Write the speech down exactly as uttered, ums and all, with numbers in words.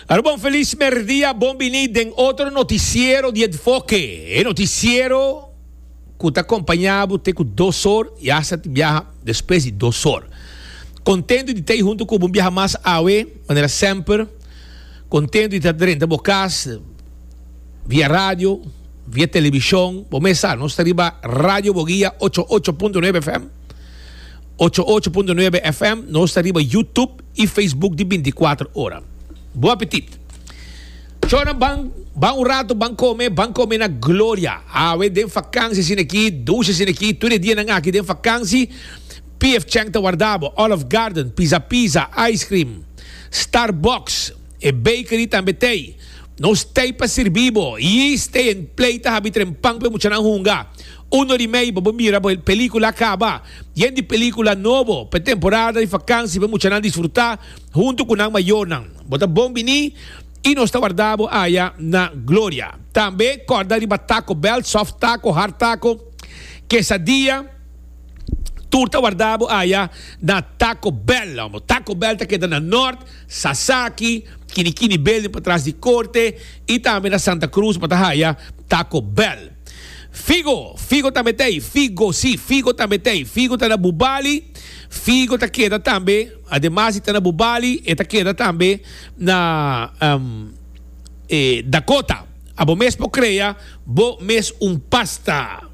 Aruba, un feliz merdia, bon bini den otro noticiero di Enfoke. E noticiero cu ta acompaña bo te cu dos or y hasta biaha despues di dos or. Contento di ta hunto cu un biaha mas awe, manera semper. Contento di ta drenta bo cas via radio, via television. Bo mes sa, nos ta riba Radio Boguia ocho ocho punto nuebe F M. ocho ocho punto nuebe F M, nos ta riba YouTube y Facebook di binticuater ora. Bon apetit. Chona, ban, ban un rato, ban come, ban come na Gloria. Awe den vakantie sin aki, douche sin aki, tur dia nan aki den vakantie. P F Chang ta warda bo, Olive Garden, Pizza Pizza, Ice Cream, Starbucks, e bakery tambe tey. Nos tey pa sirbi bo. Y Stay and Play ta habri trempan pa muchanan hunga. Un or y mey, bo mira, pelicula caba. Yen di pelicula nobo, pa temporada di vakantie, pa muchanan disfruta hunto cu nan mayornan. Bo ta bon bini y nos ta warda bo aya na Gloria. Tambe, corda riba Taco Bell, soft taco, hard taco, quesadilla, tur ta warda bo aya na Taco Bell. Taco Bell ta keda na Noord, Sasaki, Kinikini Building patras di Corte y tambe na Santa Cruz pa haya Taco Bell. Figo, Figo tambe tin, Figo, si, Figo tambe tin. Figo ta na Bubali, Figo ta keda tambe, ademas ta na Bubali, y ta keda tambe na um, eh, Dakota. Abo mes por crea, bo mes un pasta.